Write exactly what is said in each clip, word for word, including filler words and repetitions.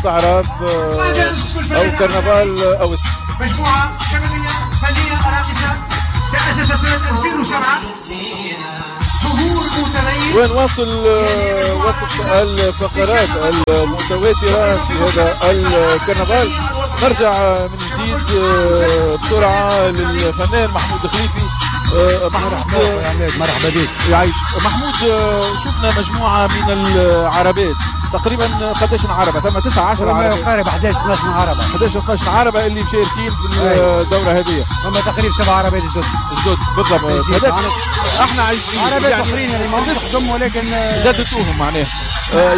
الاستعراض او كرنفال اوسو. مجموعة شبابية فنية راقصه تاسست سنة ألفين وسبعة، ظهور متميز. ونواصل وسط الفقرات المتواترة في هذا الكرنفال. نرجع من جديد بسرعة للفنان محمود خليفي. محمود مرحبا بك. يعيش محمود. شفنا مجموعة من العربات، تقريبا قداش عربه؟ ثم تسعة عشر عربه، ما يقارب احداش اثناش عربه، احداش اثناش عربه اللي مشاركين في الدورة هذه. ثم تقريبا سبع عربات جدد جدد بالضبط. هذاك احنا عايشين عربات يعني اخرين اللي ما خدم ولكن جددتوهم معناها،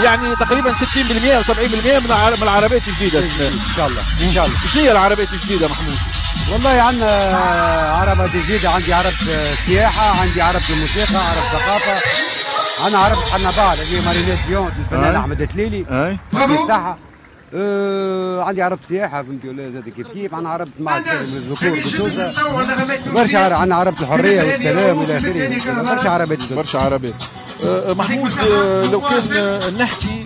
يعني تقريبا ستين بالمئة او سبعين بالمئة من العربات الجديدة. ان شاء الله ان شاء الله. شنو هي العربات الجديدة محمود؟ والله عندنا عربة جديدة، عندي عربة سياحة، عندي عربة موسيقى، عربة ثقافة، أنا عربة حنبال اللي هي Marinette فيونت الفنان أحمد تليلي الصحة. أه عندي عربة سياحة فهمتي ولا زاد كيف كيف، عندنا عربة مع الذكور بسوسة برشا، عندنا عربة الحرية والسلام إلى آخره، برشا عربات جدد. برشا عربات. أه محمود لو كان نحكي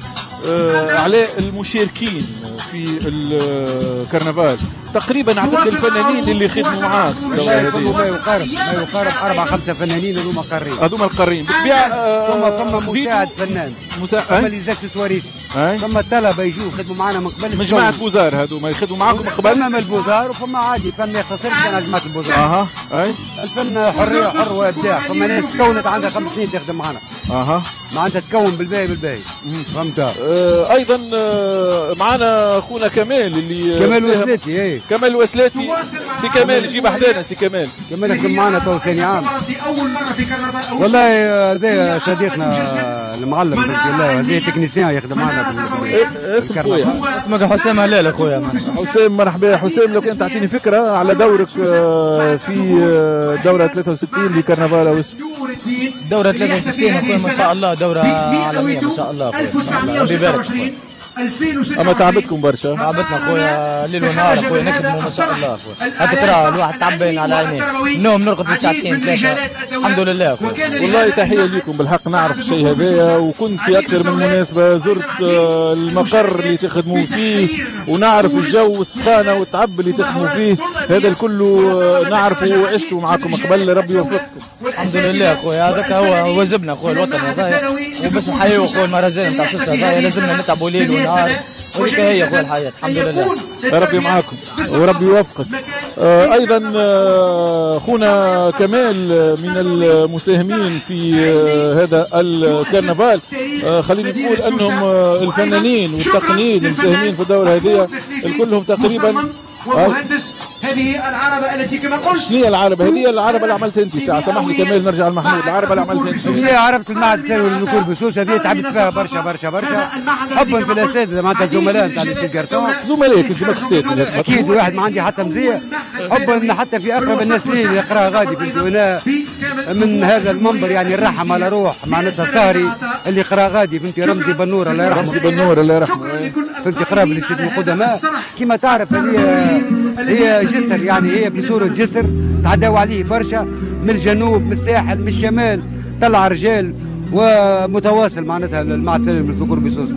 أه على المشاركين في الكرنفال، تقريبا عدد الفنانين اللي خدموا معاك ما يقارب ما يقارب اربع خمسة فنانين هذوما قارين، هذوما القارين بالطبيعة. ثم ثم مساعد فنان، مساعد، ثم les accessoiristes، ثم الطلبة يجوا يخدموا معنا من قبل، من جماعة beaux-arts هذوما يخدموا معاكم من قبل. فما من ال beaux-arts وفما عادي، فما يختصرش كان على جماعة ال beaux-arts. اها اي الفن حرية، حر وابداع. فما ناس تكونت عندها خمس سنين تخدم معنا. اها معناتها تكون بالباهي بالباهي فهمت. آه ايضا آه معنا اخونا كمال اللي كمال وسلاتي. اي كمال وسلاتي، سي كمال جيب حدانا. سي كمال كمال يخدم معنا تو ثاني عام. اول مرة في كرنفال والله هذا صديقنا المعلم الله، هذا technicien يخدم معنا. اسم خويا؟ اسمك حسام هلال اخويا. حسام مرحبا. حسام لو كان تعطيني فكرة على دورك في دوره ثلاثة وستين لكرنفال اوسو. دوره ثلاثة وستين اخويا ما شاء الله، دوره عالمية ما شاء الله اخويا، ربي يبارك. اما تعبتكم برشا. تعبتنا خويا ليل ونهار اخويا، نخدموا ما شاء الله اخويا، هكا ترى الواحد تعبان على عينيه، النوم نرقد في ساعتين ثلاثة، الحمد لله اخويا. والله تحية لكم بالحق، نعرف الشيء هذايا وكنت في اكثر من مناسبة زرت المقر اللي تخدموا فيه ونعرف الجو والسخانه والتعب اللي تخدموا فيه، هذا الكل نعرفه وعشته معاكم قبل، ربي يوفقكم. الحمد لله اخويا، هذاك هو واجبنا اخويا الوطني هذايا، وباش نحيوا اخويا المهرجان نتاع سوسة هذايا لازمنا نتعبوا ليل ونهار، وهذيك هي اخويا الحياة، الحمد لله. ربي معاكم وربي يوفقك. آه ايضا آه خونا كمال من المساهمين في آه هذا الكرنفال، آه خليني نقول انهم آه الفنانين والتقنيين المساهمين في الدورة هذه الكلهم تقريبا. ومهندس هذه العربة التي كما قلت. شنو هي العربة؟ هذه العربة اللي عملتها انت ساعة، سامحني كمال نرجع لمحمود، العربة اللي عملتها انت. هي عربة المعهد الثانوي للذكور بسوسة، هذه تعبت فيها برشا برشا برشا، حبا في الاساتذة معناتها الزملاء نتاع lycée garçons. زملائك انت ماكش استاذ. اكيد واحد ما عندي حتى مزية، حبا حتى في اقرب الناس لي اللي يقراها غادي في انا من هذا المنبر يعني الرحم على روح معناتها سهري اللي قرا غادي فهمتي، رمزي بنور الله يرحمه. رمزي بنور الله يرحمه. فهمتي قرا في lycée القدماء كما تعرف، هذه هي جسر يعني هي بصورة جسر تعداو عليه برشا من الجنوب من الساحل من الشمال، طلع رجال ومتواصل معناتها المعهد الثانوي للذكور بسوسة.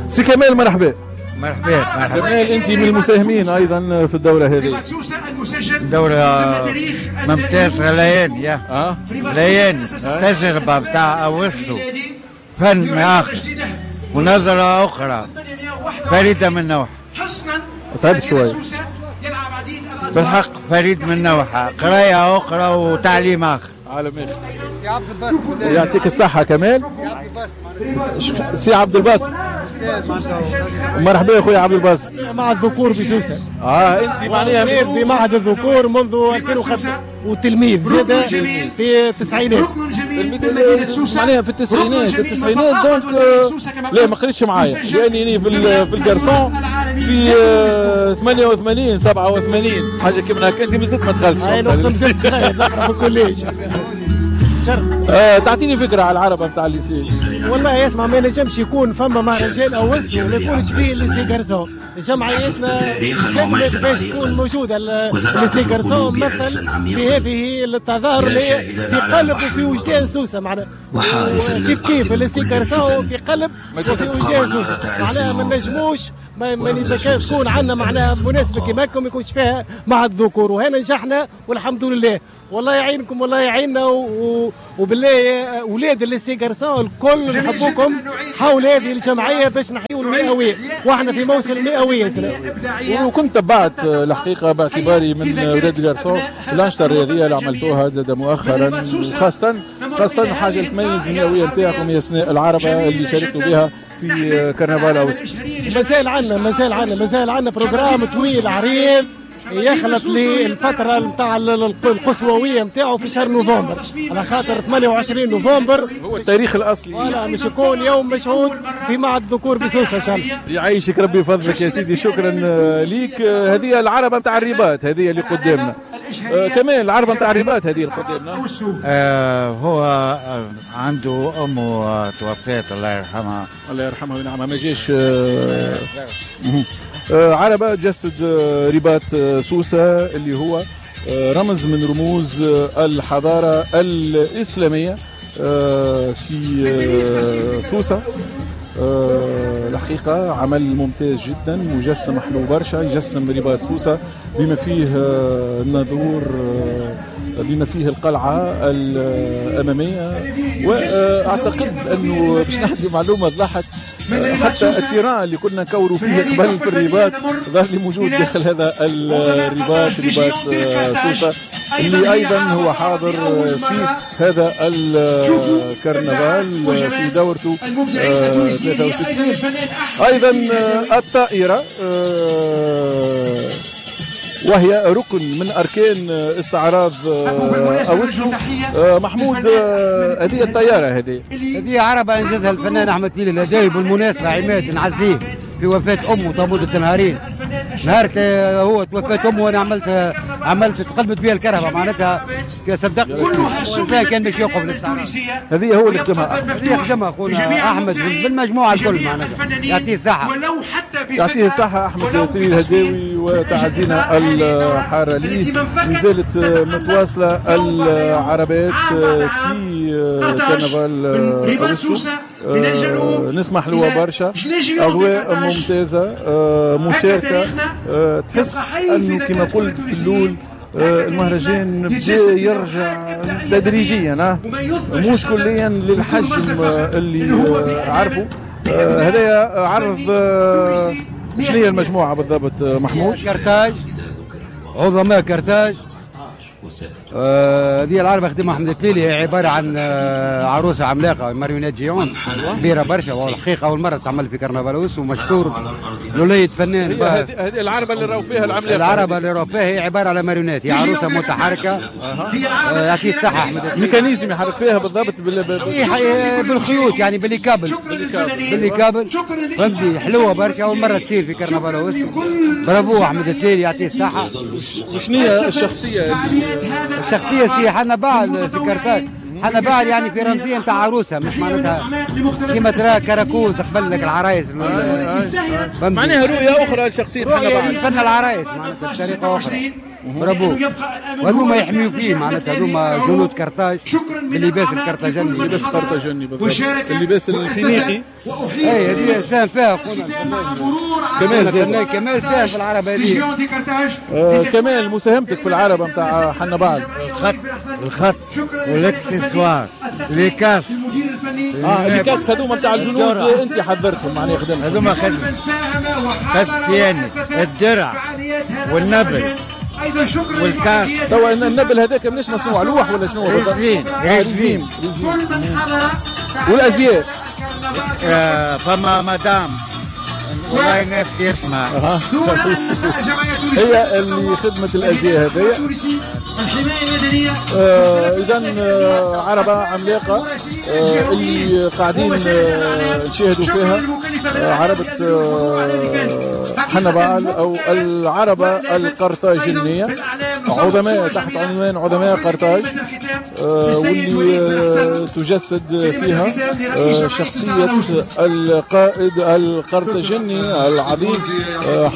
سي كمال مرحبا. مرحبا مرحبا. كمال انت من المساهمين ايضا في الدورة هذه. دورة ممتازة ليان يا أه؟ ليان تجربة بتاع أوسو، فن آخر ونظرة أخرى فريدة من نوعها. تعبت شوي بالحق، فريد من نوعها، قراية أخرى وتعليم آخر. عالم آخر. يعطيك الصحة كمال. سي عبد الباسط مرحبا يا خويا عبد الباسط. مع الذكور بسوسة. اه انت معناها في معهد الذكور منذ ألفين وخمسة وتلميذ زاد في التسعينات. معناها في التسعينات التسعينات donc لا ما قريتش معايا لاني في في ال garçons في ثمانية وثمانين سبعة وثمانين حاجة كيما هكا، انت مازلت ما دخلتش. انا مازلت صغير نقرا في ال collège. تشرف. آه تعطيني فكرة على العربة نتاع ال lycée. والله اسمع، ما نجمش يكون فما مهرجان أوسو وما يكونش فيه lycée garçons. جمعيتنا خدمت باش تكون موجودة ال lycée garçons مثل في هذه التظاهر اللي في قلب وفي وجدان سوسة، معناها كيف كيف ال lycée garçons في قلب وفي وجدان سوسة، معناها ما نجموش ما ما تكون عندنا معناها مناسبة كيما هكا ما يكونش فيها مع الذكور، وهنا نجحنا والحمد لله. والله يعينكم والله يعيننا، و... وبالله اولاد ال lycée garçons الكل نحبوكم حول هذه الجمعية باش نحيوا المئويه، واحنا في موسم المئويه سنة. وكنت تبعت الحقيقة باعتباري من اولاد garçons الانشطة الرياضية اللي عملتوها زاد مؤخرا، وخاصة خاصة حاجة تميز المئويه نتاعكم هي سناء العربة اللي شاركتوا بها في كرنفال أوسو. مازال عندنا مازال عندنا مازال عندنا programme طويل عريض يخلط للفترة نتاع القصووية نتاعو في شهر نوفمبر، على خاطر ثمانية وعشرين نوفمبر هو التاريخ الأصلي. voilà مش يكون يوم مشهود في معهد الذكور بسوسة إن شاء الله. يعيشك ربي يفضلك يا سيدي، شكرا ليك. هذه العربة نتاع الرباط هذه اللي قدامنا. آه كمان العربة نتاع الرباط هذه اللي قدامنا. آه هو عنده أمه توفات الله يرحمها. الله يرحمها وينعمها، ما جاش. آه آه عربة تجسد رباط سوسة اللي هو رمز من رموز الحضارة الإسلامية في سوسة. الحقيقة عمل ممتاز جدا، مجسم حلو برشا، يجسم رباط سوسة بما فيه الناظور، بما فيه القلعة الأمامية. وأعتقد أنه باش نحكي معلومة تضحك، حتى ال terrain اللي كنا نكوروا فيه قبل في الرباط ظهر لي موجود داخل هذا الرباط، رباط سوسة اللي أيضا هو حاضر في هذا الكرنفال في دورته ثلاثة وستين. أيضا الطائرة وهي ركن من أركان استعراض أوسو. محمود، هذه الطيارة هذه هذه عربة أنجزها الفنان أحمد تليلي الهداوي. بالمناسبة عماد نعزيه في وفاة أمه طابوت النهارين، نهار هو توفات أمه وأنا عملت عملت تقلبت بها الكهرباء، معناتها صدقني الإنسان كان باش يوقف للاستعراض. هذه هو اللي خدمها، هذه خدمها خونا أحمد بالمجموعة الكل، معناتها يعطيه الصحة، يعطيه الصحة أحمد تليلي الهداوي وتعزينا الحارة ليه. مازالت متواصلة العربات في كرنفال أوسو، نسمح له برشا، أجواء ممتازة، مشاركة، تحس أنه كما قلت في الأول المهرجان بدا يرجع تدريجيا، مش كليا للحجم اللي عرفه. هذا عرض شنو هي المجموعة بالضبط محمود؟ كرتاج، عظماء كرتاج. هذه آه العربة خدمها أحمد التليلي، هي عبارة عن آه عروسة عملاقة marionnette géante كبيرة برشا، والحقيقة أول مرة تعمل في كرنفال أوسو، ومشكور لولية فنان. هذه العربة اللي راهو فيها العملاقة، العربة اللي راهو فيها هي عبارة على ماريونات، هي عروسة متحركة. آه يعطيه الصحة أحمد التليلي. mécanisme يحرك فيها بالضبط بال... بالخيوط، يعني بال câbles، بال câbles، فهمتي؟ حلوة برشا، أول مرة تصير في كرنفال أوسو. برافو أحمد التليلي يعطيه الصحة. وشنو هي الشخصية؟ الشخصية سي حنبعل في كرتاج، حنبعل يعني في رمزية نتاع عروسة، مش معناتها كيما ترى كراكوز قبل لك العرايس، معناها رؤية أخرى لشخصية حنبعل، فن العرايس معناتها بطريقة أخرى. برافو، وهذوما يحميوا فيه معناتها، هذوما جنود كرتاج باللباس الكرتاجني، اللباس الكرتاجني بالضبط، اللباس الفينيقي. اي هذه ساهم فيها خونا كمال، كمال ساهم في العربة هذه. آه كمال، مساهمتك في العربة نتاع حنبعل؟ الخط، الخط والاكسسوار، les casques. اه les casques هذوما نتاع الجنود انت حضرتهم معناها خدمتهم؟ هذوما خدمت خدمت الدرع والنبل والكاس. توا النبل هذاك مناش مصنوع لوح ولا شنو؟ résine، résine. والازياء آه فما مدام والله نفسي اسمها هي اللي خدمة الازياء هذيا. اذا عربه عملاقة آه اللي قاعدين آه نشاهدوا فيها، آه عربه آه حنبعل أو العربة القرطاجينية، عظماء تحت عنوان عظماء قرطاج، واللي تجسد فيها شخصية القائد القرطاجيني العظيم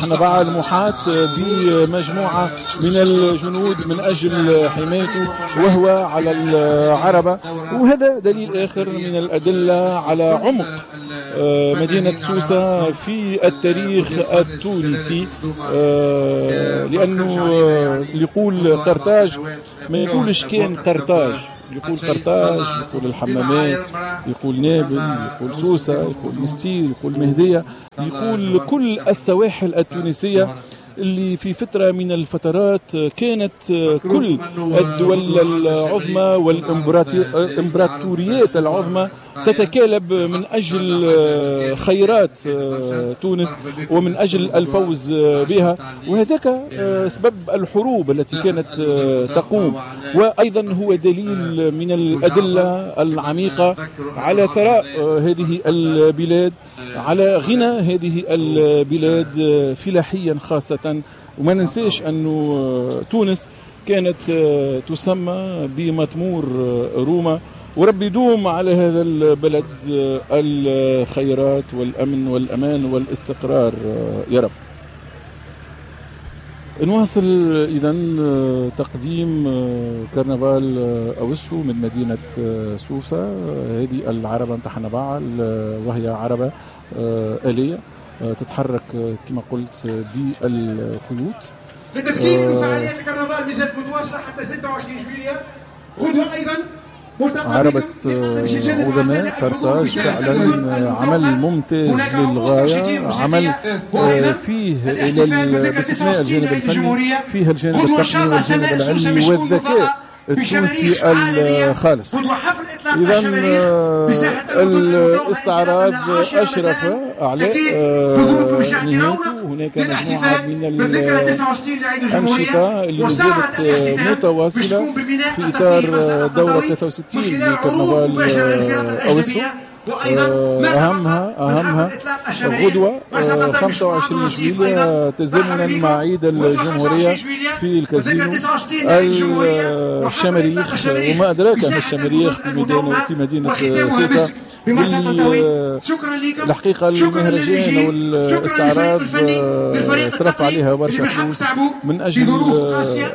حنبعل محاط بمجموعة من الجنود من أجل حمايته وهو على العربة. وهذا دليل آخر من الأدلة على عمق مدينة سوسة في التاريخ التونسي، لأنه يقول قرطاج ما يقولش كان قرطاج، يقول قرطاج، يقول الحمامات، يقول نابل، يقول سوسة، يقول مستير، يقول مهدية، يقول كل السواحل التونسية اللي في فترة من الفترات كانت كل الدول العظمى والإمبراطوريات العظمى تتكالب من أجل خيرات تونس ومن أجل الفوز بها، وهذاك سبب الحروب التي كانت تقوم. وأيضا هو دليل من الأدلة العميقة على ثراء هذه البلاد، على غنى هذه البلاد فلاحيا خاصة. وما ننساش أنه تونس كانت تسمى بمطمور روما، وربي يدوم على هذا البلد الخيرات والأمن والأمان والاستقرار يا رب. نواصل إذن تقديم كرنفال أوسو من مدينة سوسة. هذه العربة نتاع حنبعل، وهي عربة آلية تتحرك كما قلت بالخيوط. للتذكير أن فعاليات الكرنفال مازالت متواصلة حتى ستة وعشرين جويلية. غدوة أيضا عربة عظماء قرطاج فعلا عمل ممتاز للغاية، عمل فيه إلى باستثناء الجانب الفني فيه الجانب التقني والجانب العلمي والذكاء التونسي الخالص. إذا الاستعراض أشرف على نهايته. هناك مجموعة من الأنشطة اللي مازالت متواصلة في إطار دورة ثلاثة وستين لكرنفال أوسو. أهمها أهمها غدوة خمسة وعشرين جويلية تزامنا مع عيد الجمهورية في الكازينو الشماريخ، وما أدراك ما الشماريخ في مدينة في مدينة سوسة. الحقيقة المهرجان والاستعراض صرف عليها برشا فلوس من أجل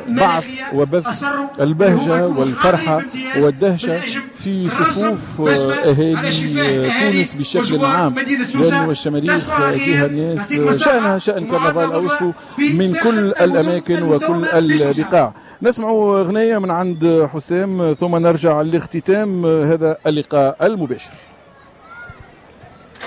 بعث وبث البهجة والفرحة والدهشة في صفوف أهالي تونس بشكل عام، لأنه الشماريخ فيها ناس شأنها شأن كرنفال أوسو من كل الأماكن وكل البقاع. نسمع أغنية من عند حسام ثم نرجع لاختتام هذا اللقاء المباشر.